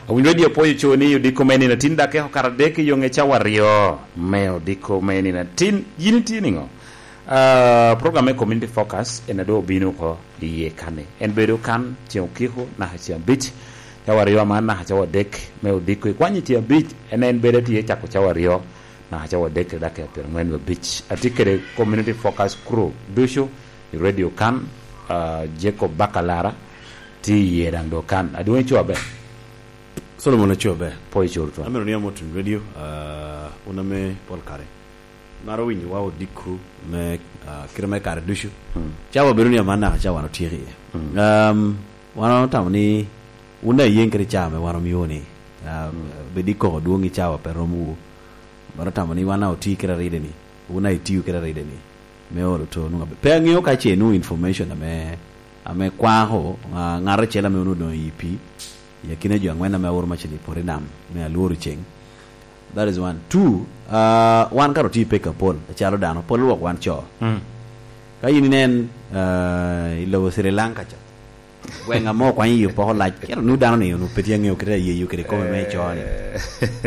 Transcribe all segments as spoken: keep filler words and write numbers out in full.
Owiny Radio pwoyo co ni odiko me nino atin dok eko kare adek i yoŋe cawa aryo me odiko me nino atin. Yin itye niŋo? Ah, program me Community Focus en a doŋ obino oko i yie kan-ni. En bedo kan ceŋ okiko naka ceŋ abic, cawa aryo aman naka cawa adek me odiko. Ikwanyo ceŋ abic, en, en bedo tye cako cawa aryo naka cawa adek kede dakika pyerangwen wie abic. Atye kede Community Focus crew ducu i radio kan, ah, Jacob Bakalara tye i yie daŋ doŋ kan. Adwoŋ ico aber? Solomon aco aber. Pwoyo co tutwal. Amito ni amot winy radio, ah, wun ame pol kare maro winyowa odiko me, ah, kite me kare ducu. Mm. Cawa bedo ni aman naka cawa wan otyeko iye. Mm. Um, wan otamo ni wun daŋ iyeŋ kede cawa ame wan omio ni, ah, mm, bed i koko dwoŋ i cawa pe romowu. Wan otamo ni wan daŋ oti kede aride ni, wun daŋ itio kede aride ni, me olo to nwoŋo abe-, pe aŋeo ka ce inwoŋo information ame, ame kwako, ah, ŋat acel ame onwoŋo odoŋo i pii, i akina jo aŋwen ame aoro macel i poto i nam, me alworo ceng. That is one. Two, ah, wan kara otye i pek apol, acalo dano, pol lwak wan co. Mm. Ka yin inen, ah, i lobo Sri Lanka ca, gweŋ ame okwanyo i opoko lac, kit onwoŋo dano ni onwoŋo pe tye aŋeo kite ayeyo kede kome me co ni.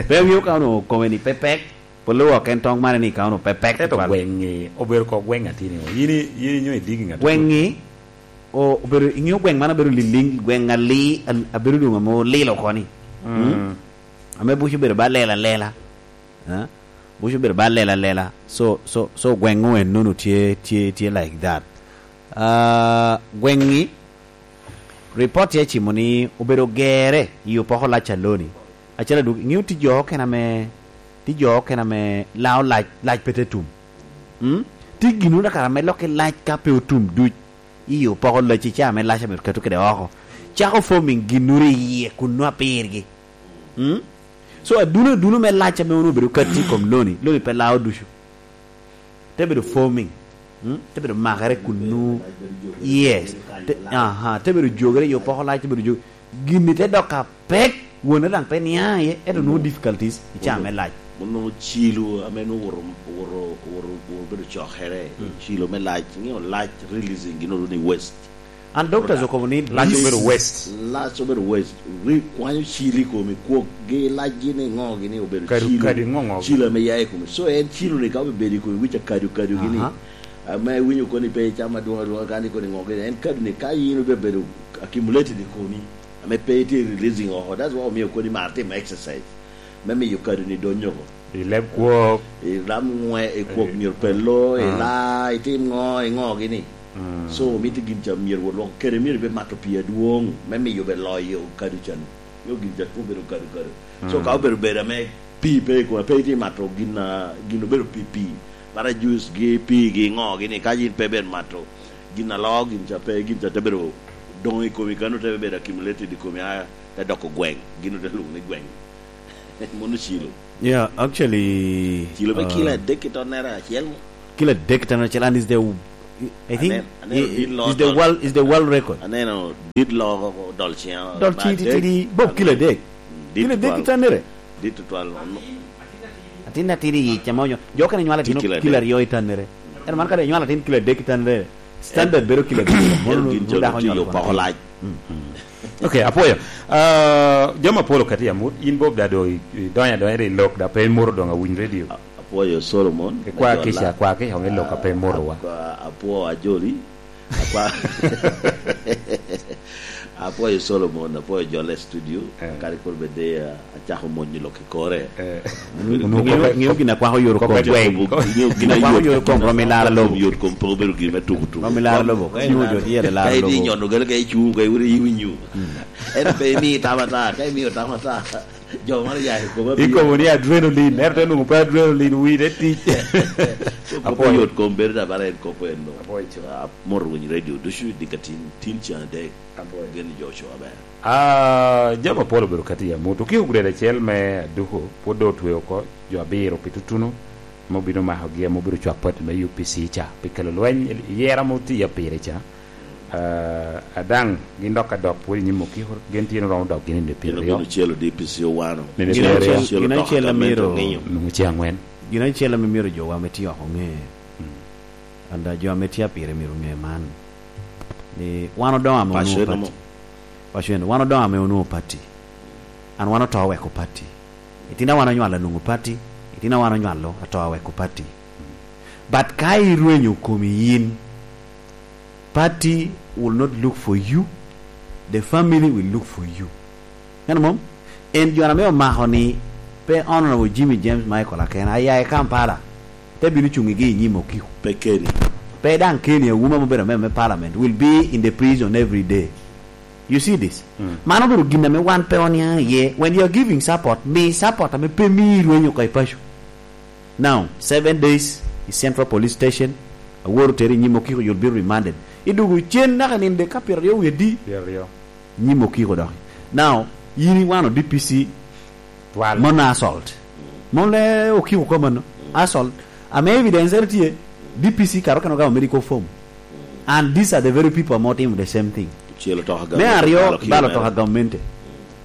Pe aŋeo ka onwoŋo kome ni pe pek, pol lwak en tong mane ni ka onwoŋo pe pek. Ento tutwal. Gweŋ-ŋi obedo ko gweŋ atini o. Yin i-, yin inyo idigi ŋat. Gweŋ-ŋi o-, obedo, iŋeo gweŋ man abedo liliŋ, gweŋ ali-, al-, abedo doŋ ame olilo oko ni. Mm. Mm. Ame buc obedo ba lela lela. Eh? Buc obedo ba lela lela. So, so, so gweŋ-ŋu en nono tye, tye, tye like that. Ah, gweŋ-ŋi, ripot tye cimo ni obedo gere i opoko lac a loni. Acel adwogo, iŋeo tye jo okene ame, tye jo okene ame lao lac, lac pe te tum. Mm? Tye ginnono kara ame lokke lac ka pe otum duc. I opoko lac i caa me lac ame oketo kede oko. Cako forming ginnoro i yie kun nwa pirgi. Mm? So, aduno, aduno me lac ame onwoŋo obedo katti i kom loni, loni pe lao ducu. Te bedo forming. Mm? Te bedo makere kun nwoŋo. Yes. Te, aha, te bedo jogere i opoko lac, te bedo jogere. Gini te dok apek, wone daŋ pe niaŋ iye, ento nwoŋo difficulties i caa me lac. Onwoŋo cilo ame nwoŋo owoto, owoto, owoto, owoto bedo cokere, mm, cilo me lac, iŋeo lac releasing gin olo ni waste. And doctors okobo ni lac obedo waste. Lac obedo waste. Ri-, kwanyo cilo i komi, kwok gi lac gini ŋo gini obedo kadu, cilo. Kadu ŋo ŋo. Cilo ame ya i komi. So en cilo ni ka obedo i komi, wic akadu kadu gini. Aha. Ame iwinyo koni pe icamo adwoŋ adwoŋ, kani koni ŋo gini. En kadu ni ka yin obedo accumulated i komi. Ame pe itye releasing oko. That's why omio kodi mar timo exercise. Me miyo kado ni donyo oko. I leb kwok. I lam ŋwe, i kwok myero pe lo, i la, itim ŋo, i ŋo gini. Mm. So, mito gin ca myero wot lwoko. Kede myero ibe mato pii adwoŋ, me miyo be loyo kado can. Nyo gin ca obedo kado kado. So, mm, ka obedo bedo ame pii pe i kome, pe itye mato gin a, gin obedo pii pii. Para juice gi, pii gi, ŋo gini, ka yin pe bed mato. Gin a loo, gin ca pe, gin ca te bedo doŋ i komi, kano te bedo accumulated i komi, a, te doko gweŋ, gin ote lwoŋo ni gweŋ. Mono cilo. Yeah, actually, cilo me uh, kilo adek ki tonnere acel mo. Kilo adek ki tonnere acel, and is the, I think, aneno, aneno i-, dit loo is the dol-, world, is the world record. Aneno dit loo dol ciŋa. Dol ba tidi, adek, tidi, bob kilo adek. Mm, dit kilo adek ki twal. Tonnere. Dit twal, ono. Atin atidi i yic, ame onyo-, jo okene nywalo atin kilo adek. Kilo aryo i tannere. Ento man kadi inywalo atin kilo adek i tannere, standard bedo kilo adek. Mono en gin nu-, nu dako nywalo poko lac. Mm. Ok, apwoyo. Ah, jami apol okati i amut, in Bob da do i, i donyo adonya i lok, da pe imoro doŋ awiny radio. A-, apwoyo Solomon, ikwa kica, akwa kica, onge lok a pe imorowa. Akwa, apwoyo Ajoli. Akwa-, apwoyo Solomon, apwoyo jole studio. Eh. Kadi kur bede, ah, acako monyo lok i kore. Eh. Ŋeo, ŋeo gin akwako yot kom. Ŋeo gin akwako yot kom, rom i laro lobo. Yot kom pe obedo gin me tuku tuku. Rom i laro lobo. Ka inwoŋo jo tye i laro lobo. Ka idhi nyono gale ka icuŋ, ka iwinyo, iwinyo. Mm. En pe imi tamo ata, ka imiyo tamo ata. Jo moro ya i koma. Ikobo ni adrenaline, ento te nwoŋo pe adrenaline, wi te tic. So, kop yot kom bedo da bara en kop en no. Apwoyo. Ah, moro winy radio, ducu i dikatin, tin cen adek. Apwoyo. Gen jo co aber. Ah, jami apol obedo kati i amut. Okiko guredo acel me aduko, pwod doŋ otweo oko jo abiro pi tutuno, ame obino makogi, ame obedo cwak pati me U P C ca, pi kelo lweny i yera ame otye pire ca. Ah, adaŋ, gin dok ka dok pwod i nyim okiko, gin tye romo dok gin i nino pyeraryo. Gin obino celo D P C owano. Nino pyeraryo. Gin acel, gin acel amito, nwoŋo ce angwen. Gin acel ame myero jowa ame tye oko ŋe. Mm. And, uh, jo ame tye pire myero ŋe man, ni wan odoŋo ame onwoŋo pati. Paco eno, wan odoŋo ame onwoŋo pati. An wan oto oweko pati. Itino wan onywalo anwoŋo pati. Itino wan onywalo ato oweko pati. But ka irwenyo komi yin, party will not look for you. The family will look for you. Eno mom? En jo ame omako ni pe Honorable Jimmy James Michael akena, aya i Kampala, te bino cuŋ igi i nyim okiko. Pe keni. Pe daŋ keni, awuma mobedo me, me parliament will be in the prison every day. You see this? Mm. Mano obedo gin ame wan pe oniaŋ iye. When you are giving support, mi support ame pe mii irwenyo oko i paco. Now, seven days i Central Police Station, awor oteri i nyim okiko, you'll be remanded. Idugo cen naka ninde ka pyeraryo wie di? Pyeraryo. Nyim okiko dok. Now, yin iwano D P C. Twal. Mono assault. Mono le okiko ko mano. Assault. Ame evidence ere tye, D P C karo keno gamo medical form. And these are the very people ame otimo the same thing. Celo toka. Me gamente, aryo, balo kilo balo mere. Toka gamente.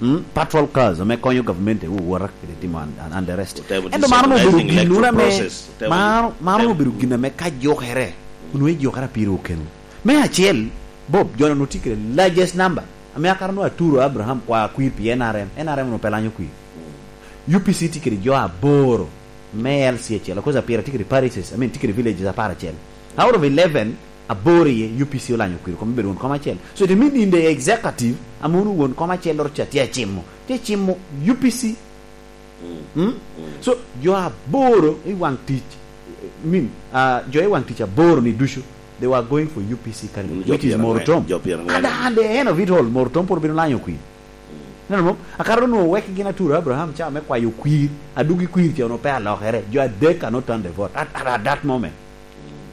Mm, patrol cars ame konyo gamente, wota kede timo and, and, and the rest. Otemo. Ento mano obedo disorganizing gin electoral ame, process. Otemo mano, mano temo obedo gin ame ka jokere, onwoŋo ejokere pire okeno. Me acel, Bob, jo-nu tye kede largest number. Ame akato nwoŋo aturo Abraham kwa kwir pi N R M. N R M onwoŋo pe lanyo kwir. U P C tye kede jo aboro me L C acel, because apira tye kede parishes, I mean, tye kede villages apar acel. Out of eleven, aboro iye U P C olanyo kwir, kome bedo won kom acel. So it means in the executive, ame wun won kom acel loro ca tye acimo. Tye acimo U P C. Mm? Mm. So, jo aboro i waŋ tic, I mean, uh, jo i waŋ tic aboro ni ducu, they were going for U P C candidate, which is Morutom. Jo pyerangwen. At the, at the end of it all, Morutom pwod obino lanyo kwir. Neno mom? Akato onwoŋo wek gin aturo Abraham ca me kwayo kwir, adugi kwir ca onwoŋo pe alokere. Jo adek cannot turn the vote at, at, at that moment.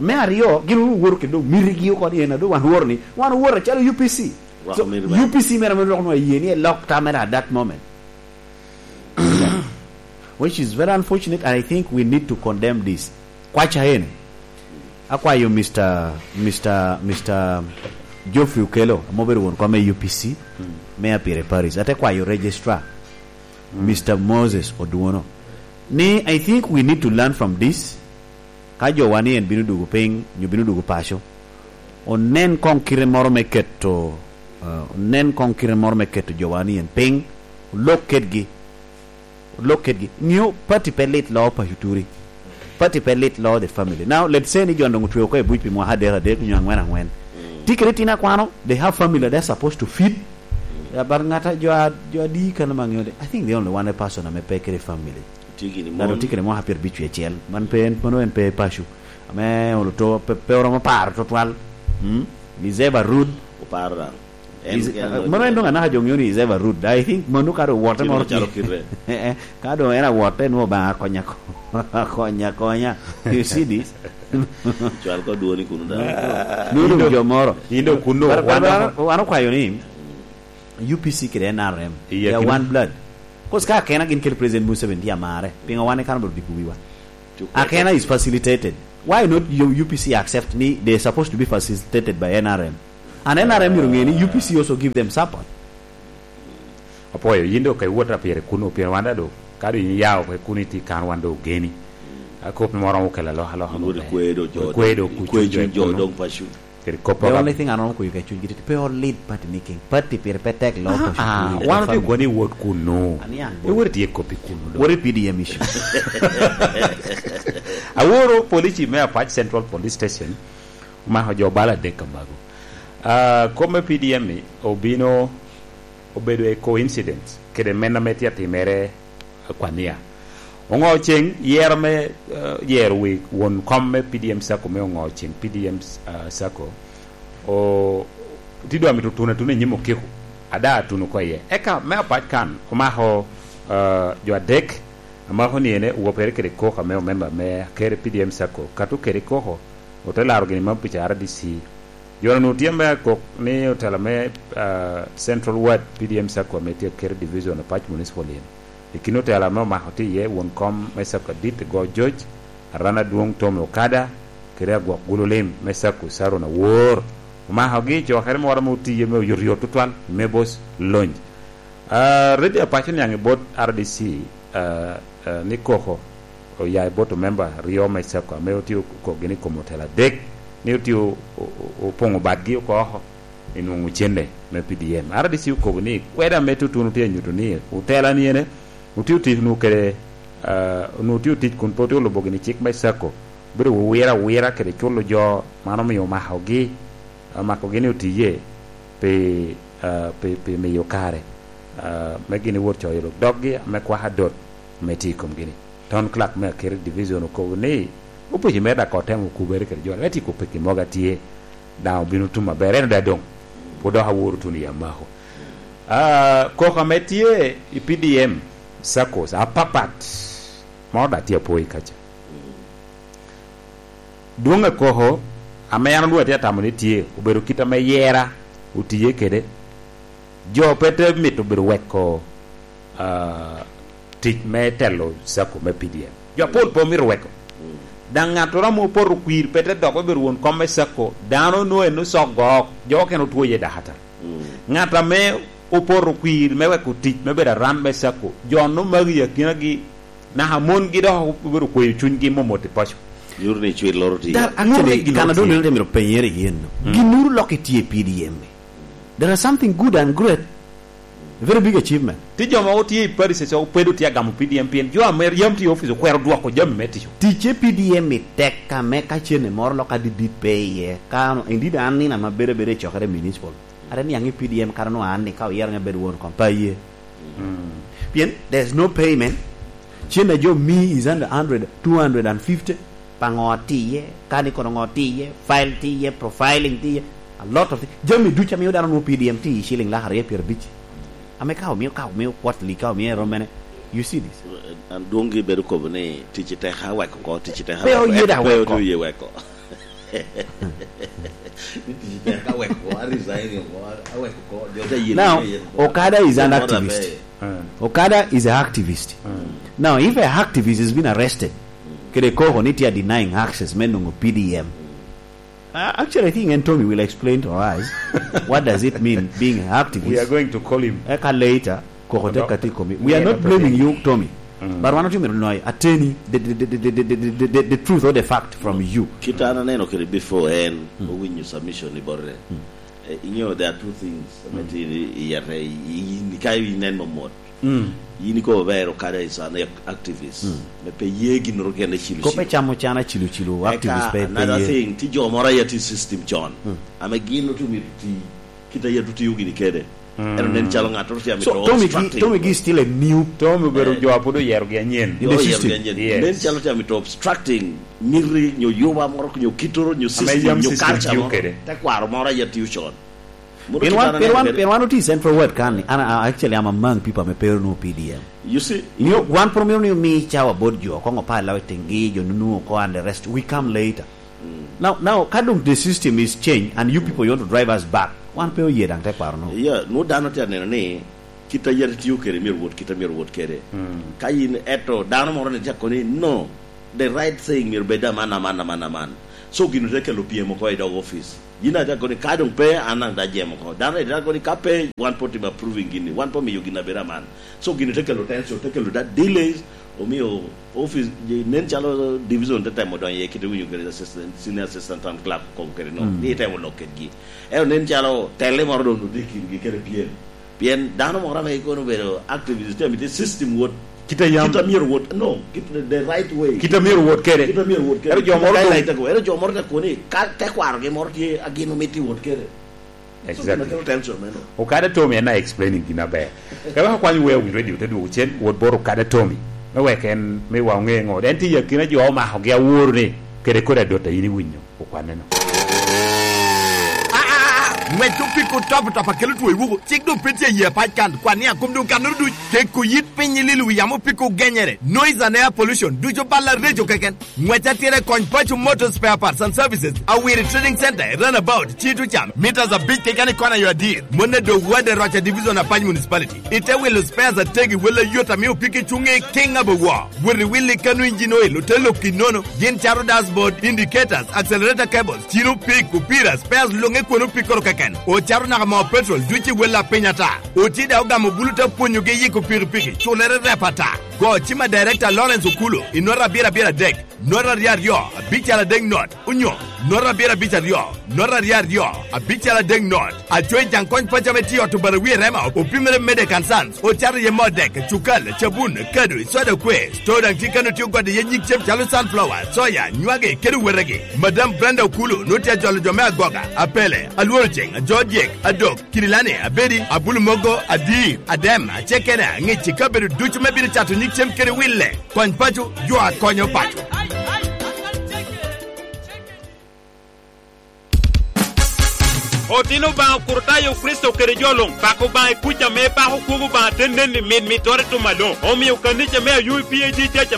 Me aryo, gin onwoŋo woto kede doŋ mitigi oko ni en a doŋ wan woro ni, wan oworo acalo U P C. Rwako. So, miti bene. U P C mere ame dok onwoŋo aye ni elok tam mere at that moment. Which is very unfortunate, and I think we need to condemn this. Kwaca ene. Akwayo Mister, Mister, Mister Geoffrey Okello, ame obedo won kom me U P C, mm, me Apire Parish. Ate kwayo Registrar, mm, Mister Moses Oduono, ni I think we need to learn from this. Ka jowa ni en bino dugo piny, nyo bino dugo paco, onen koŋ kite moro me keto, uh, onen koŋ kite moro me keto jowa ni en piny, olok kedgi. Olok kedgi. Ŋeo, party pe lit loo paco turi. Party pe lit loo the family. Now, let's say ni jo doŋ otwe oko i buc pi mwaka adek adek nyo aŋwen aŋwen. Mm. Tye kede itino akwano, they have family they're supposed to feed. Mm. Yeah, but ŋat a jo a, jo adi kano ma ŋeo de, I think the only one person ame pe kede family. Tye gini. Ŋat mon. Otye kede mwaka pyerabicwi acel. Man pe en, mano en pe paco. Ame olo to, pe, pe oromo paro tutwal. Mm? Is ever rude. Oparo daŋ. En is, kene uh, mano en doŋ anaka jo ŋeo ni is ever rude. I think mano ka doŋ owote moro calo tye. Kite. Eh, eh. Ka doŋ en awote, nwoŋo Obaŋa akonya, akonya, akonya. You see this? Cwal ko dwoni kunu daŋ. Nwoŋo doŋ jo moro. In doŋ kunno, but, but, wan but, wan okwayo ni, U P C kede N R M, iye they are kino. One blood. 'Cause ka akena gin kede President Museveni tye amare, piŋo wan ikano bot diko wiwa? Akena is facilitated. Why not U-, U P C accept ni they are supposed to be facilitated by N R M? And N R M myero ŋe ni U P C also give them support. Apwoyo, yin doŋ ka iwot a pire kuno, pien wan daŋ doŋ, ka doŋ yin yao pe kuno iti kan wan doŋ ogeni. Akop moro oromo kelo alokaloka. Yin wot maber. Ikwedo jo, ikwedo doŋ, kuc ikwedo jo cuny jo kuno. Doŋ paco. Kede kop. The only thing an romo kweyo ka cunygi tye, pe olit party ni king. Party pire pe tek loo. Ah, paco ah, kuno. Wan otye koni iwot kuno. Aniang bo. Iwot itye kop i kuno doŋ. What a P D M issue. Aworo police me Apac Central Police Station omako jo bala adek amago. Ah, kop me P D M ni obino obedo a coincidence kede men ame tye atimere akwania. Oŋo ceŋ yero me, eh, yero wi won kom me P D M Sacco me oŋo ceŋ P D M, eh, Sacco, o, ti dwa mito tuno atuna i nyim okiko. Ada atuno oko iye. Eka me apac kan omako, eh, jo adek, amako ni ene wopere kede koko ame omemba me akere P D M Sacco, kato kede koko, ote laro gini ma pica R D C. Jo-nu onwoŋo tye me kok ni otela me, ah, Central Ward P D M Sacco ame tye Aker Division, Apac Municipal yen. I kin otela ame omako tye iye won kom me Sacco adit Go George, Aran Adwoŋ Tommy Okada, kede agwok gulu lim me Sacco Saron Awor. Omakogi i cokere moro ame otiye me oyotyot tutwal, me bos lony. Ah, Radio Apac oniaŋ i bot R D C, ah, ah, ni koko oya i bot omemba aryo me Sacco ame otye okokgi ni kom otela adek, ni otye o-, o-, o-, opoŋo badgi oko oko. i nwoŋo cene me P D M. R D C okobo ni kweda me tutunu tye anyuto ni otela ni ene otio tic nu kede, ah, nu otio tic kun pe otio lubo gini cik me sacco, bedo wira wira kede culo jo man omio omakogi, omakogi ni otiye pi, ah, pi, pi miyo kare, ah, me gini wot coyo lok doggi ame kwaka dot ame tye i komgi ni. Town clerk me Akeri Division okobo ni opic mere daŋ kor temo kubere kede jo, me tiko peki mogo atye, daŋ obino tum aber, eno daŋ doŋ pwod dok aworo tuno i amako. Ah, koko ame tye i P D M saccos apapat, moro daŋ tye apoi kaca. Dwoŋ akoko ame an onwoŋo atye atamo ni tye, obedo kit ame yera otiye kede. Jo pe te mito bedo weko, ah, tic me telo sacco me P D M. Jo apol pe omito weko. Daŋ ŋattoro ame opoto kwir pe te dok me bedo won kom me sacco, dano onwoŋo en ocok gok, jo okene otwo iye dakatar. Ŋat ame opoto kwir me weko tic me bedo aram me sacco, jo onwoŋo magi i akinagi, naka mongi dok obedo kweyo cunygi momot i paco. Yur ni cwil loro tye. That actually, Murni gin kan adongo otye. Nino te mito penyere yen. Ginnuru lok itye i P D M. There are something good and great. A very big achievement. Ti jo mogo tye i parish so, pedo tye agamo P D M pien jo ame yam tye i office okwero dwoko jami me tico. Ticce P D M i tek ame ka cene moro lok adidit pe iye. Ka ano, indeed an nino ame bedo abeda i cokere municipal. Are niaŋ i P D M kara no an ni ka oyero ŋa bedo won kom pa ye. Pien there's no payment. Cen a jo mi is under hundred, two hundred and fifty. Pa ŋo atiye, kani kono ŋo atiye, file tiye, profiling tiye, a lot of things. Jami ducu amiyo dano nwoŋo P D M tiye shilling lak aryo pyerabic. Ame ka omiyo, ka omiyo quarterly, ka omiyo erom mene. You see this? An dwongi bedo kobo ni tic i teka weko ko, tic i teka Pe weko. Oye da Ento pe weko. Oye weko. Ni tic i teka weko, a resign ko, a weko ko, jo te yelo Now, yelo ko. Okada is an What a activist. Pay. Okada is an activist. Now, if an activist has been arrested, kede koko ni tye denying access me nongo P D M. Uh, actually, I think Anthony will explain to us what does it mean being an activist. We are going to call him. Eka later, koko te kati komi. We are not blaming you, Tommy. But wan otye mito noy ateni the, the, the truth or the fact from you. Kit an aneno kede before en, owinyo submission ni bote. Eh, inyo, there are two things ame tye i yete, i, i, ka inen momot. Yin ikobo ber Okada is an activist. Me pe ye ginnoro kene cilo Kop me cilo. Camo cana cilo cilo, activist pe, pe another ye. Thing, ti jo moro aye ti system con. Ame gin otu mito ti, kita ye tu tiyo gini kede. Eno nen calo ŋattoro tye amito So, Tommy Gi, obstructing. Tommy Gi is still a new Tommy obedo jo a pud oyero gi anyen. In the system. Yes. Nen calo tye amito obstructing miti nyo yuba moro, nyo kitoro, nyo system, yam nyo system culture tiyo moro. Kede. Tekwaro moro aye tiyo con. Mono Pien wan, pien wan, pien wan oti Central Ward kan ni, an, I, actually, I'm among people ame pe onwoŋo P D M. You see? Inyo, wan pwod omito ni omi cawa bot jo, koŋ opalla i teŋgi, jo nunu oko and the rest. We come later. Now, now, ka doŋ the system is changed and you people want to drive us back, wan pe oye daŋ tekwaro no. Yeah, nwoŋo dano tye aneno ni, kit a yat itiyo kede myero wot, kit a myero wot kede. Ka yin eto, dano moro ni te kono ni, no, the right thing myero bed aman, aman, aman, aman. So gin te kelo pyem oko i dog office. Yin ate kono ni, ka doŋ pe, an daŋ da jem oko. Dano ite kono ni, ka pe, wan po timo approving gini, wan po miyo gin abedo aman. So gin te kelo tension, te kelo da delays, omio office, nen calo division te temo donyo iye kite winyo kede assistant, senior assistant town clerk okobo kede no. Ni itemo lok kedgi. Ento nen calo telle moro doŋ otye i kingi kede pyem. Pien dano moro ame kono obedo activist, tye amito system wot. Kit a yam. Kit a myero wot. No, kit the, the right way. Kit a myero wot kede. Kit a myero wot kede. Ero jo moro guideline doŋ te ko. Ero jo moro te ko ni, ka, ka kwarogi moro tye, a gin omito iwot kede. So, exactly. Gin a kelo tension meno. Okada Tommy en a explaining gin aber. Ka wek akwany Weo Win Radio te dwogo cen, wot bot Okada Tommy. Me wek en, me wa oŋe ŋo. En tye i akina jo omakogi aworo ni, kede kodi adot a in iwinyo. Okwanne no. Aa, ŋwec opiko top top akelo two i wuku. Cik doŋ pe tye i yie pac kan. Kwan ni akom doŋ kannoro duc. Keko yit piny i lilo wi yamo opiko genyere. Noise and air pollution. Ducu balla reco keken. Ŋwec atira i kony Paco Motor Spare Parts and Services. Awiri Trading Center, Runabout, Cito Cam. Meters abic keken i kona yo adir. Mone do wade roca Division Apac Municipality. Ite wilo spares ategi wala yot amiyo piki cuŋe king abo wo. Wot i willi kanu engine oil ote lok i nono. Gin cato dashboard, indicators, accelerator cables, cino pik, opira, spares luŋe kwon opikoro keken. Ocato naka moo petrol duc i wel a piny ata. Oti da ogamo bulu te pwonyogi yiko pikipiki, culere rep ata. Go cima Director Lawrence Okulo, i nota abiro abiro adek. nota aryo aryo, abical adek not, onyo nota abiro abic aryo, nota aryo aryo, abical adek not. Acoyi Jaŋ Kony Paco ame tye i ot Obarawi i Rema, opimere Medek and Sons, ocato iye moo dek, cukal, cabun, kado, soda kwe. Store daŋ tye kano tye ogode iye nyig cem calo sunflower, soya, nywagi, kede wetegi. Madam Brenda Okulu nwoŋo tye ajolo jo me agoga, apele, alworo ceŋ, ajo dyek, adok, kirilani, abedi, abulu mogo, adir, adem, acekena, ŋic i kabedo ducu me bino cato nyig cem kede wille. Kony paco, yo akonyo paco. Otino Obaŋa Okurutayo Kricito kede jo luŋ, pako Obaŋa i kuc ame pako kwogo Obaŋa te nen i mit mittere i tum aloŋ. Omio kanica me Ayubi P A G Church